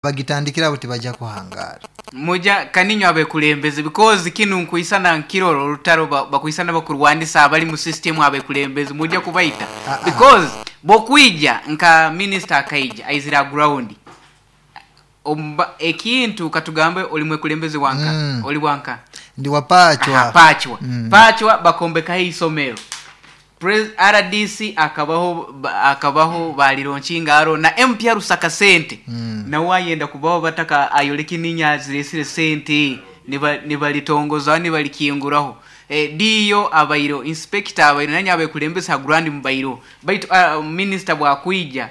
Bagitandikira aho tibajja kuhangaara. Muja kaninywe abekulembeze because kinu nkwisana nkirora orutaro bakwisana bakurwanisa abali mu system abekulembeze muja kubaita because bwokwija nka minister akaija aizire aha ground ekintu katugambe oli mwekulembeze wanka oli wanka? Ndi wa Pachwa. Aha, Pachwa. Pachwa bakombekaho eisomero. Rdc akabaho akabaho balironkinga aro na MP arusaka sente nawe ayenda kubaho bataka ayoleke ninye aziresire sente nibaritongozaho nibarikinguraho DO abaireho inspector abaireho nanye abekulembeze ha ground mubaireho baitu minister bwakwija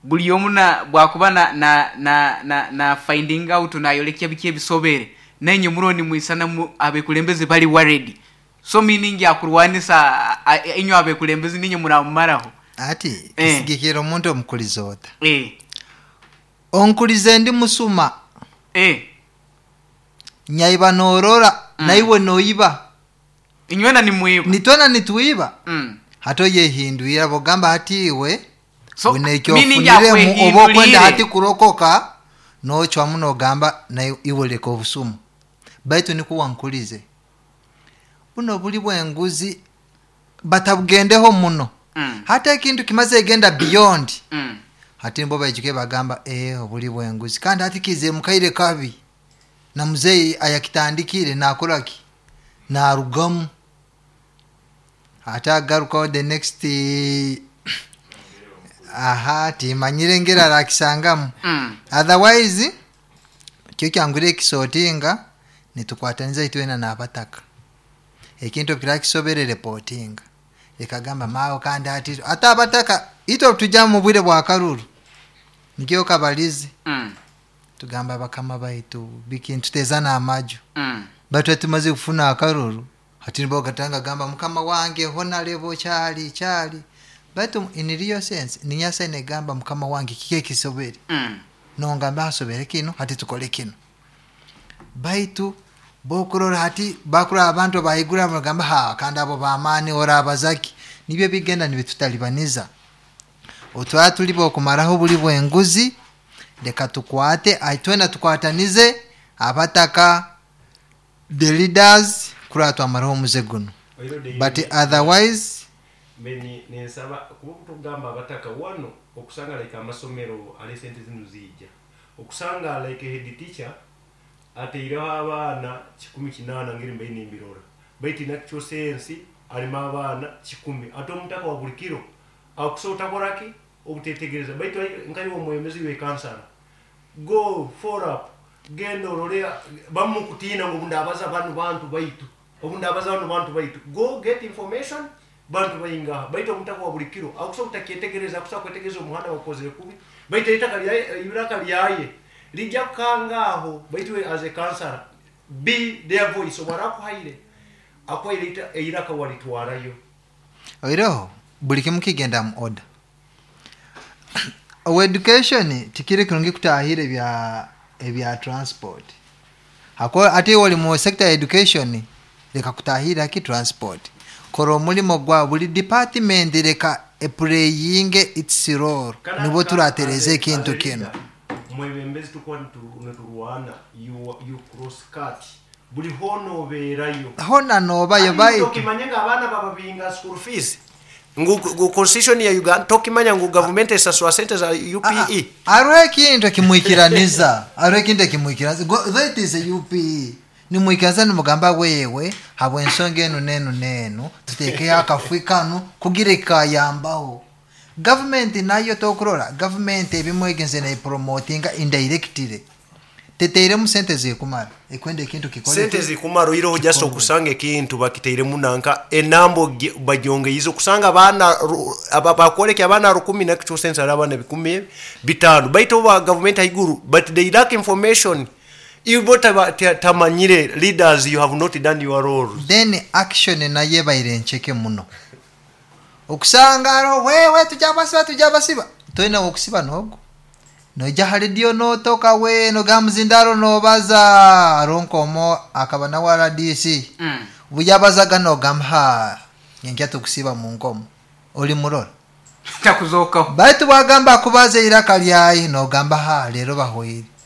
buri omu na bwakuba na na na na na finding out nayorekya biki ebisobere nainye muriho nimwisana abekulembeze bari worried So meaning akurwanisa inywe abekulembezi ninye muramumaraho. Hati kisigikirra omuntu omukulize ota. Onkulize ndi musuma. Nyaiba norora naiwe noiba. Inywena nimwiba. Nitwena nitwiba. Hati oyehindwire abogamba hati iwe So, wine eki meaning ofuniremu oba okwenda akwehindwire. hati kurokoka nocwamu nogamba iwe leka obusumu. Baitu nikwo wankulize. Bunu obuli bw'enguzi batabugendeho muno. Hati ekintu kimaze egenda beyond hati nibwo baijuke bagamba ee obuli bw'enguzi kandi hati kiizire mu kaire kabi na muzeeyi ayakitandikire nakora ki? Narugamu. Hati agarukaho the next aha timanyire engeri arakisangamu. Otherwise kyo kyangwire ekisotinga nitukwataniza itwena n'abataka. Ekintu obu kiraba kisobere reportinga. Leka gamba maawe kandi hati ate abataka itwe obu twija omu bwire bw'akaruru nikyo kabalize tugamba bakama baitu biki nituteezana amaju baitu hati tumazire kufuna akaruru hati nibwo gatanga gamba mukama wange honarebo kyali kyali baitu in real sense ninyasa negamba mukama wange kiki ekisobere nongamba hasobere kinu hati tukole kinu baitu bokurora hati bakurora abantu abahaiguru abo nibagamba ha kandi abo b'amaani orabazaki nibyo bigenda nibitutalibaniza. Otwaba turi b'okumaraho oburi bw'enguzi leka tukwate twena tukwatanize abataka, the leaders kurora twamaraho omuze gunu but otherwise. Mbe ninsaba kuba obutukugamba abataka wanu okusanga like amasomero hare sente zinu ziija okusanga like head teacher ateireho abaana 180 ngeri mbaire nimbirora baitu in actual sense harimu abaana kikumi ate omutaka wa buri kiro akusa otakora ki obutetegereza baitu nkaiwe omwebembezi iwe kansara go follow up genda orore bamukutiina ngu obundabaza banu bantu baitu obundabaza banu bantu baitu go get information bantu baingaha baitu omutaka wa buri kiro akusa obutakyetegereza akusa kwetegereza omuhanda bagukozire kubi baitu eitaka ryaye eiraka ryaye rijya kukanga aho baitu iwe as a kansara be their voice obu arakuhaire akuhaire eiraka waritwarayo. Oihireho buri kimu kigenda mu order. Owa education tikiri kirungi kutahirra ebya ebya transport hakuba hati iwe ori mu sector ya education leka kutahirra ki transport. Kora omurimo gwawe buri department leka epureyinge its role Kandi nibwo as turatereeza a, as ekintu a kinu. leader mwebembezi tukuba niturwana you, you cross cut buri hoona obeerayo. Hoona noobayo Hati baitu. tokimanya ngu abaana bababinga school fees ngu ngu constitution ya Uganda tokimanya ngu gavumenti esasura sente za UPE. Hariho ekintu ekimwikiraniza hariho ekintu ekimwikiraniza though it is a UPE nimwikiriza nimugamba wewe habw'ensonga enu n'enu n'enu tuteekeho akafwi kanu kugira ekikayambaho. Gavumenti nayo tokurora gavumenti ebimwe egenzire nepromotinga indirectly teteiremu sente zirikumara ekwenda ekintu kikore Sente ki? zirikumara oihireho just Kikorwe. okusanga ekintu bakiteiremu nanka enamba bagyongeize okusanga abaana bakworeka abaana rukumi nakyo sense hariho abaana 5,000 baitu oba gavumenti ahaiguru but they lack information ibo tamanyire leaders you have not done your roles. Then action nayo ebaire nceke muno. Okusanga hariho wewe tujabasiba tujabasiba toine wokusiba nogu. Noija aha rediyo notoka we nogamba muzindaro nobaza hariho nk'omwe akaba nawe rdc obu yabazaga nogamba haa nyenkya tukusiba mu nkomo olimurora. Takuzokaho. Baitu bwagamba akubaza eiraka ryaye nogamba haa reero bahweire.